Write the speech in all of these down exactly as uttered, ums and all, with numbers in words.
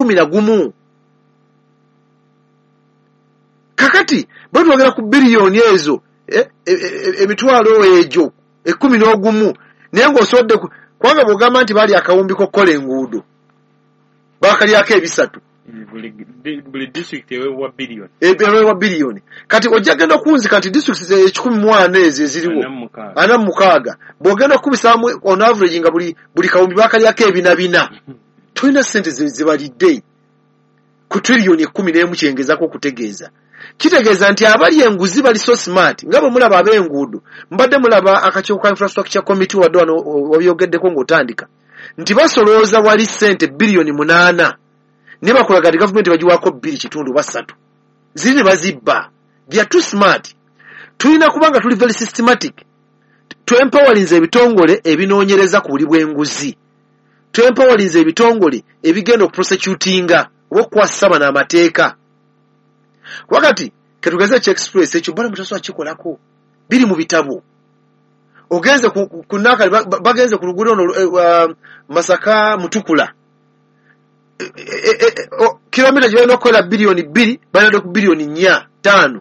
kkumi na gumu. Kakati bwe twogera ku biliyoni ezo, emitwalo egyo ekkumi n'ogumu, naye ng'osobodde kubanga bw'ogamba nti baali akawumbi k'okukola enguudo baakalyako ebisatu, buli disitulikiti eweebwa biliyoni, eweebwa biliyoni. Kati ojja genda okunzika nti disitulikiti ekikumi mu ana ezo eziriwo ana mu mukaaga, bw'ogenda okukubisaamu on average nga buli buli kawumbi baakalyako ebina bina, tolina ssente zebalidde ku triliyoni ekkumi n'emu. Kyengezaako okutegeeza, kitegeeza nti abali enguzi bali so smart. Nga bwe mulaba ab'enguudo, mbadde mulaba akakiiko ka infrastructure committee, wadde wano wabyogeddeko ng'otandika nti basolooza wali ssente biliyoni munaana, ne bakulaga nti gavumenti bagiwaako bbiri kitundu oba ssatu, ziri ne bazibba. They are too smart. Tulina kubanga tuli very systematic. Twempowalinze ebitongole ebinoonyereza ku buli bw'enguzi, twempowalinze ebitongole ebigenda okuprosecutinga oba okukwasisa bano amateeka. Kuba kati ketugeze eki express ekyo bala mutasobola kikolako, biri mu bitabo. Ogenze ku Nakali, bagenze ku luguudo ono Masaka Mutukula, kilomita gye balina okukolera biliyoni bbiri balina ku biliyoni nnya ttaano,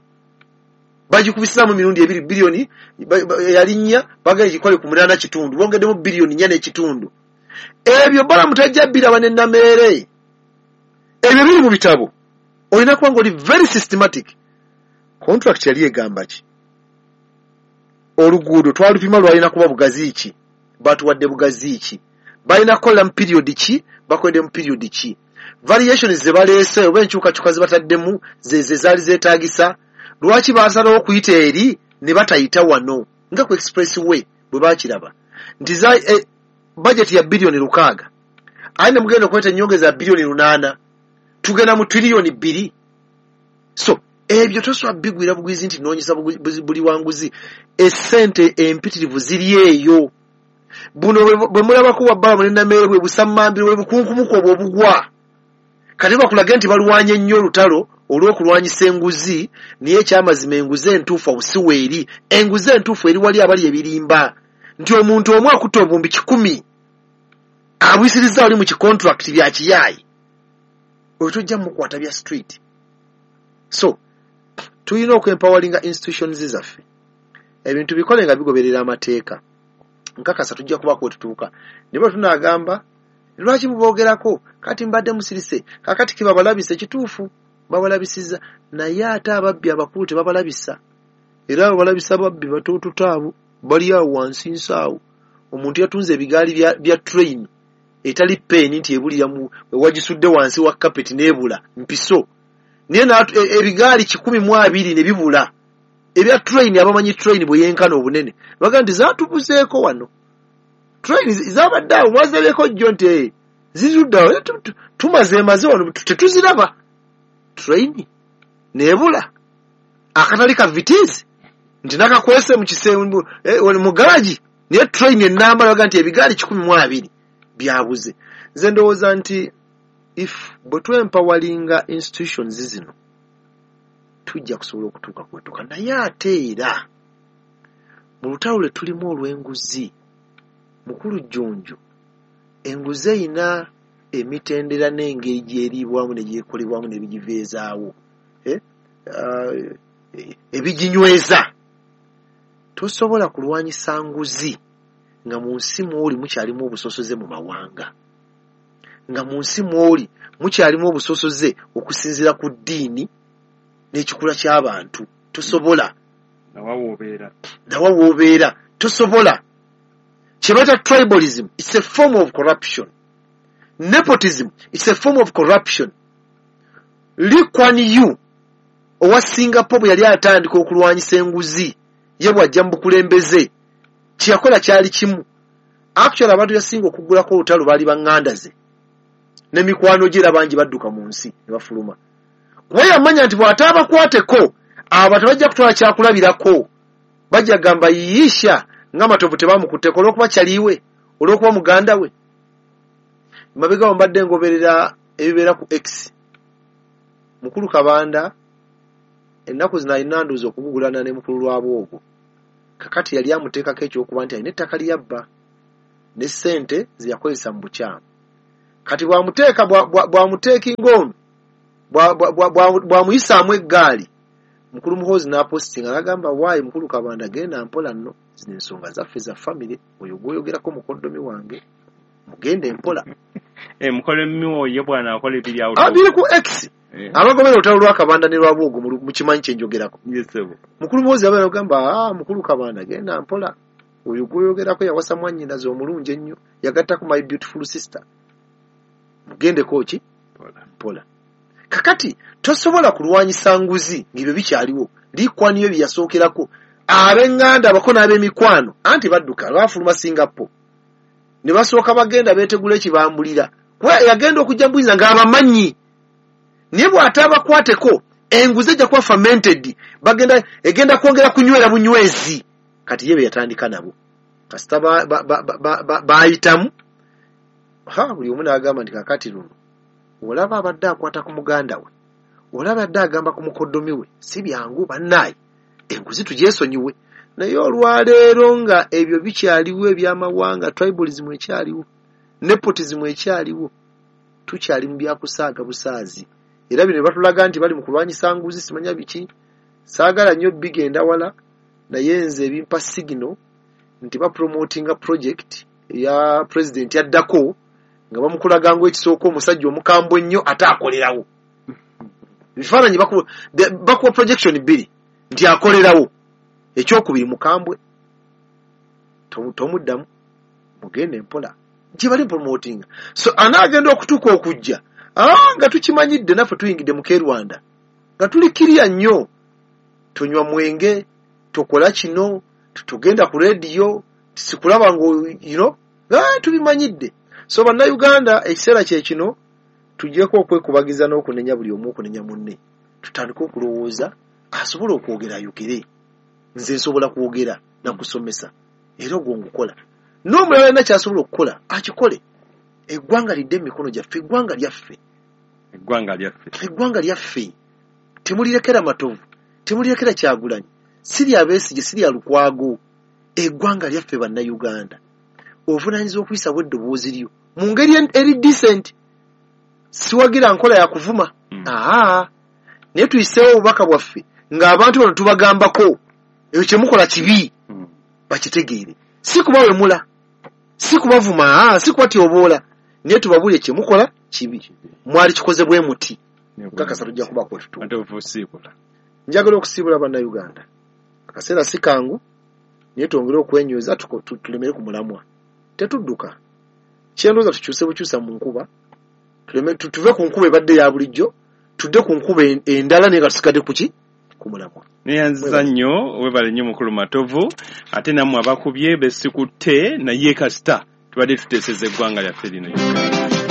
bagikubisaamu emirundi ebiri, biliyoni yali nnya bagenda gikole ku munaana kitundu, bongeddemu biliyoni nnya n'ekitundu. Ebyo bala mutajja biraba ne Nameere, ebyo biri mu bitabo. Olina kuba ng'oli very systematic. Contract yali egamba ki? Oluguudo twalupima lwalina kuba bugazi ki? Batuwadde bugazi ki? Balina kukolera mu period ki? Bakoledde mu period ki? Variations ze baleese oba enkyukakyuka ze bataddemu ze ze zaali zeetaagisa. Lwaki baasalawo okuyita eri ne batayita wano? Nga ku express way bwe baakiraba nti za eh, budget ya biliyoni lukaaga, aye ne mugenda okuleeta ennyongeza ya biliyoni lunaana, tugenda mu triliyoni bbiri. So ebyo tosobola bigwira bugwizi nti noonyesa buli wanguzi. Essente empitirivu ziri eyo. Buno bwe mulabako wabbala ne Nameere bwe busammambiro, bwe bukunkumuka obwo obugwa. Kati bakulage nti balwanye nnyo olutalo olw'okulwanyisa enguzi, naye ekyamazima enguzi entuufu awo si weeri. Enguzi entuufu eri wali abali ebirimba nti omuntu omu akutte obuwumbi kikumi abwisirizza wali mu kicontract bya kiyaayi, oyo tojja mukwata bya street. So tulina okwempowalinga institutions zaffe, ebintu bikole nga bigoberera amateeka. Nkakasa tujja kubaako we tutuuka. Naye bwe tunaagamba lwaki muboogerako, kati mbadde musirise, kakati kibabalabisa, ekituufu babalabisiza, naye ate ababbi abakulu tebabalabisa. Era babalabisa babbi batoototo abo bali awo wansi nsaawo. Omuntu yatunze ebigaali bya, bya train etali peeni nti ebulira mu wagisudde wansi wa carpet n'ebula mpiso, naye ebigaali kikumi mu abiri ne bibula ebya train. Abamanyi train bwe yenkana obunene bagamba nti zaatubuzeeko wano, train zabadde awo mwazirabeko jjo nti zirudde awo, tumazeemaze wano tetuziraba. Train n'ebula akatali ka Vitz nti nakakwese mu kisenge mu garagi, naye train ennamba baga nti ebigaali kikumi mu abiri byabuze. Nze ndowooza nti if bwe twempawalinga institutions zino tujja kusobola okutuuka kwetuuka. Naye ate era mu lutalo lwe tulimu olw'enguzi, mukulu Jjunju, enguzi eyina emitendera n'engeri gy'eriibwamu ne gyekolebwamu n'ebigiveezaawo, eh? uh, ebiginyweza. Tosobola kulwanyisa nguzi nga mu nsi mw'oli mukyalimu obusosoze mu mawanga, nga mu nsi mw'oli mukyalimu obusosoze okusinziira ku ddiini n'ekikula ky'abantu. Tosobola. Nawa w'obeera, nawa w'obeera tosobola. Kye bayita tribalism, it's a form of corruption. Nepotism, it's a form of corruption. Lee Kuan Yew owa Singapore bwe yali atandika okulwanyisa enguzi, ye bw'ajja mu bukulembeze kye yakola kyali kimu. Actually abantu yasinga okuggulako olutalo baali baŋŋanda ze n'emikwano gye, era bangi badduka mu nsi ne bafuluma, kuba yamanya nti bw'ataabakwateko abo tebajja kutwala kyakulabirako, bajja gamba yiisha nga Matovu tebamukutteko olw'okuba kyaliwe, olw'okuba muganda we. Mabega mbadde ngoberera ebibeera ku X, mukulu Kabanda ennaku zino alina ndowooza okugugulana ne mukulu Lwabwogo. Kakati yali amuteekako ekyokuba nti alina ettaka lyabba ne ssente ze yakozesa mu bukyamu. Kati bw'amuteeka bw'amuteekinga ono bw'amuyisaamu eggaali, mukulu Muhoozi n'apositinga n'agamba waayi mukulu Kabanda genda mpola nno, zino ensonga zaffe za famire, oyo gw'oyogerako mukoddomi wange, mugende mpola. Eh, mukoddomi oyo bw'anaakola ebiri awo. Biri ku X. Abagobera olutalo lwa Kabanda ne Rwabwogo mukimanyi kye njogerako. Mukulu Muhoozi abeera agamba ah mukulu Kabanda genda mpola, oyo gw'oyogerako yawasa mwannyinaze omulungi ennyo, yagattako my beautiful sister, mugendeko ki mpola. Kakati tosobola kulwanyisa nguzi ng'ebyo bikyaliwo. Likwaniyo bye yasookerako ab'eŋŋanda abako n'ab'emikwano anti badduka baafuluma Singapore ne basooka bagenda beetegula ekibambulira, kuba yagenda okujja mbuyinza ng'abamanyi, naye bw'ataabakwateko enguzi ejja kuba fermented, bagenda egenda kwongera kunywera bunywezi. Kati ye be yatandika nabo kasita baayitamu ha buli omu n'agamba nti kakati luno olaba abadde akwata ku muganda we, olaba abadde agamba ku mukoddomi we, si byangu bannaaye, enguzi tugyesonyiwe. Naye olwaleero nga ebyo bikyaliwo, ebyamawanga, tribalism ekyaliwo, nepotism ekyaliwo, tukyali mu byakusaaga busaazi. Era bino batulaga nti bali mu kulwanyisa nguzi simanya biki, saagala nnyo bigenda wala, naye nze ebimpa signal nti bapromotinga project ya president yaddako nga bamukulaga ng'ekisooka omusajja omukambwe ennyo ate akolerawo. Ebifaananyi bakuwa projection bbiri nti akolerawo, ekyokubiri mukambwe, tomuddamu, mugende mpola gye bali promotinga. So anaagenda okutuuka okujja ah nga tukimanyidde naffe tuyingidde mu Rwanda nga tuli kirya nnyo, tonywa mwenge, tokola kino, tugenda ku rediyo, sikulaba ngo you know, ah tubimanyidde. So bannayuganda ekiseera kye kino tuggyeko okwekubagiza n'okunenya buli omu okunenya munne, tutandike okulowooza asobola okwogera ayogere. Nze nsobola kwogera nakusomesa era ogwo ngukola, n'omulala alina ky'asobola okukola akikole. Eggwanga lidde emikono gyaffe, eggwanga lyaffe, eggwanga lyaffe, eggwanga lyaffe. Temulirekera Matovu, temulirekera Kyagulanyi, si lya Besigye, si lya Lukwago, eggwanga lyaffe bannayuganda. Ovunaanyizibwa okuyisawo eddoboozi lyo mu ngeri eri decent, siwagira nkola ya kuvuma, aa naye tuyiseewo obubaka bwaffe ng'abantu bano tubagambako ekyo kye mukola kibi, bakitegeere. Si kubawemula, si kubavuma, si kubatyoboola, naye tubabuulire kye mukola kibi, mwali kikoze bwe muti. Nkakasa tujja kubaako tutuuka. Njagala okusiibula bannayuganda, akaseera si kangu, naye twongere okwenyweza tulemere ku mulamwa, tetudduka. Kyendowooza tukyuse bukyusa mu nkuba, tuve ku nkuba ebadde ya bulijjo tudde ku nkuba endala, naye nga tusigadde ku ki? Ku mulamwa. Neyanziza nnyo, webale nnyo mukulu Matovu, ate nammwe abakubye besikutte naye kasita tubadde tuteeseza eggwanga lyaffe lino Uganda.